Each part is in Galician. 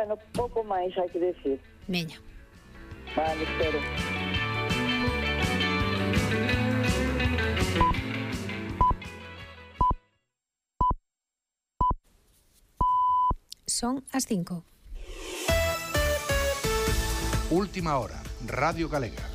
bueno, pouco máis hai que decir. Veña. Vale, espero. Son as 5. Última hora, Radio Galega.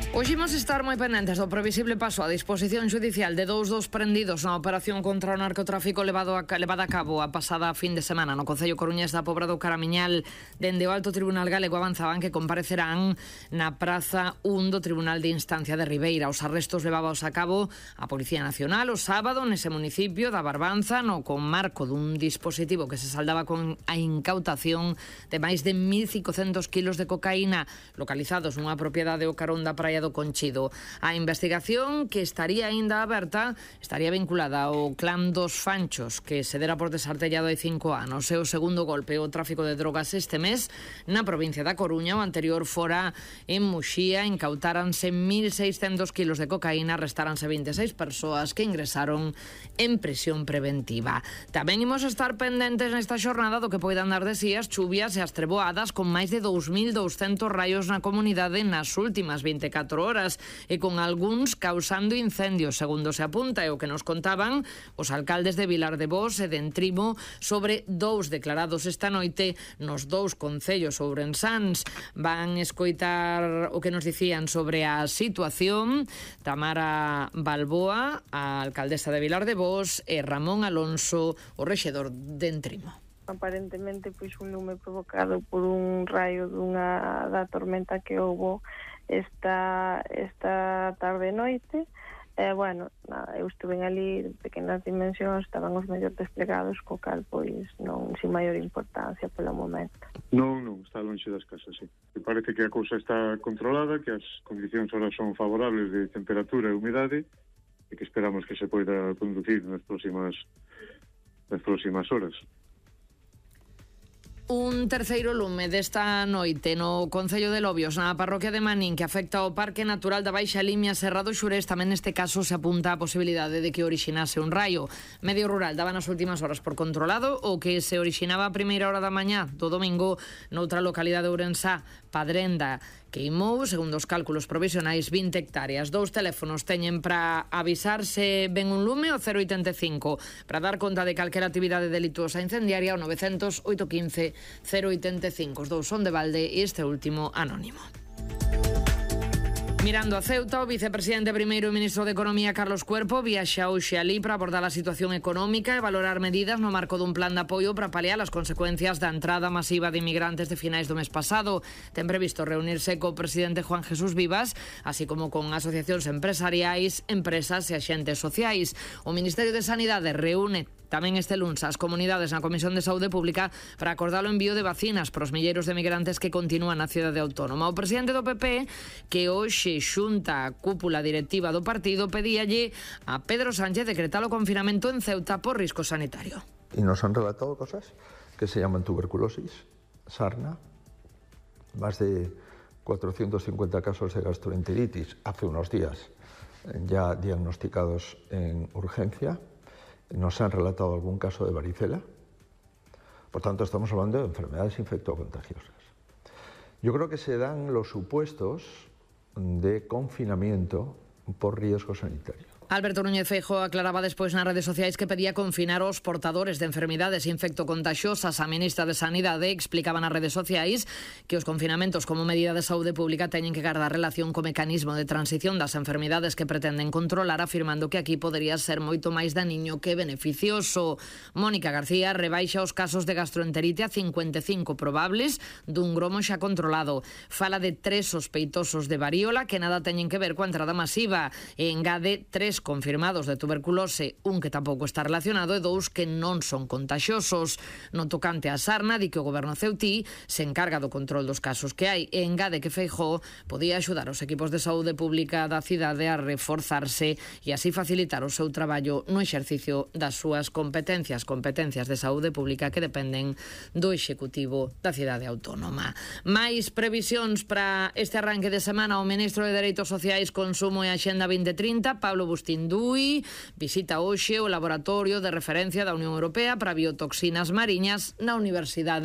Hoxe imos estar moi pendentes do previsible paso a disposición judicial de dous dos prendidos na operación contra o narcotráfico levada a cabo a pasada fin de semana no Concello coruñés da Pobra do Caramiñal. Dende o Alto Tribunal Galego avanzaban que comparecerán na Praza 1 do Tribunal de Instancia de Ribeira. Os arrestos levados a cabo a Policía Nacional o sábado nese municipio da Barbanza no conmarco dun dispositivo que se saldaba con a incautación de máis de 1.500 kilos de cocaína localizados nunha propiedade o carón da Praia do Conchido. A investigación, que estaría aínda aberta, estaría vinculada ao clan dos Fanchos, que se dera por desartellado hai 5 anos. E o segundo golpe, o tráfico de drogas este mes na provincia da Coruña. O anterior fora en Muxía. Incautáranse 1.600 kilos de cocaína, restaranse 26 persoas que ingresaron en prisión preventiva. Tamén imos estar pendentes nesta xornada do que poidan dar de si as chuvias e as treboadas, con máis de 2.200 raios na comunidade nas últimas 24 horas e con algúns causando incendios, segundo se apunta, e o que nos contaban os alcaldes de Vilar de Bos e de Entrimo sobre dous declarados esta noite nos dous concellos ourensáns. Van escoitar o que nos dicían sobre a situación Tamara Balboa, a alcaldesa de Vilar de Bos, e Ramón Alonso, o rexedor de Entrimo. Aparentemente, pois, un lume provocado por un raio da tormenta que houbo esta tarde e noite. Bueno, eu estuve ali de pequenas dimensións, estaban os medios desplegados, co cal, pois, non sin maior importancia polo momento. Non, está lonxe das casas, sí. Me parece que a cousa está controlada, que as condicións ahora son favorables de temperatura e humidade, e que esperamos que se poida conducir nas próximas horas. Un terceiro lume desta noite no Concello de Lobios, na parroquia de Manín, que afecta ao Parque Natural da Baixa Limia Serra do Xurés. Tamén neste caso se apunta a posibilidade de que orixinase un raio. Medio Rural daba nas últimas horas por controlado o que se orixinaba a primeira hora da mañá do domingo noutra localidade ourensá, Padrenda. Queimou, segundo os cálculos provisionais, 20 hectáreas. Dous teléfonos teñen para avisarse ben un lume, o 085, para dar conta de calquera actividade delituosa incendiaria, o 900 815 085. Os dous son de balde e este último anónimo. Mirando a Ceuta, o vicepresidente primeiro e ministro de Economía, Carlos Cuerpo, viaxa hoxe alí para abordar a situación económica e valorar medidas no marco dun plan de apoio para paliar as consecuencias da entrada masiva de inmigrantes de finais do mes pasado. Ten previsto reunirse co presidente Juan Jesús Vivas, así como con asociacións empresariais, empresas e axentes sociais. O Ministerio de Sanidade reúne tamén este luns as comunidades na Comisión de Saúde Pública para acordar o envío de vacinas para os milleiros de migrantes que continúan na cidade autónoma. O presidente do PP, que hoxe xunta a cúpula directiva do partido, pedíalle a Pedro Sánchez decretar o confinamento en Ceuta por risco sanitario. Y nos han relatado cosas que se llaman tuberculosis, sarna, más de 450 casos de gastroenteritis hace unos días ya diagnosticados en urgencia. Nos han relatado algún caso de varicela. Por tanto, estamos hablando de enfermedades infectocontagiosas. Yo creo que se dan los supuestos de confinamiento por riesgo sanitario. Alberto Núñez Feijóo aclaraba despois nas redes sociais que pedía confinar os portadores de enfermidades infectocontaxiosas. A ministra de Sanidade explicaba nas redes sociais que os confinamentos como medida de saúde pública teñen que guardar relación co mecanismo de transición das enfermidades que pretenden controlar, afirmando que aquí podería ser moito máis daniño que beneficioso. Mónica García rebaixa os casos de gastroenterite a 55 probables dun gromo xa controlado. Fala de 3 sospeitosos de varíola que nada teñen que ver coa entrada masiva e engade 3 confirmados de tuberculose, un que tampouco está relacionado e 2 que non son contaxiosos. No tocante a sarna, di que o goberno ceutí se encarga do control dos casos que hai e engade que Feijóo podía axudar os equipos de saúde pública da cidade a reforzarse e así facilitar o seu traballo no exercicio das súas competencias de saúde pública que dependen do Executivo da cidade autónoma. Mais previsións para este arranque de semana. O ministro de Dereitos Sociais, Consumo e Axenda 2030, Pablo Bustín-Dui, visita hoxe o laboratorio de referencia da Unión Europea para biotoxinas mariñas na Universidade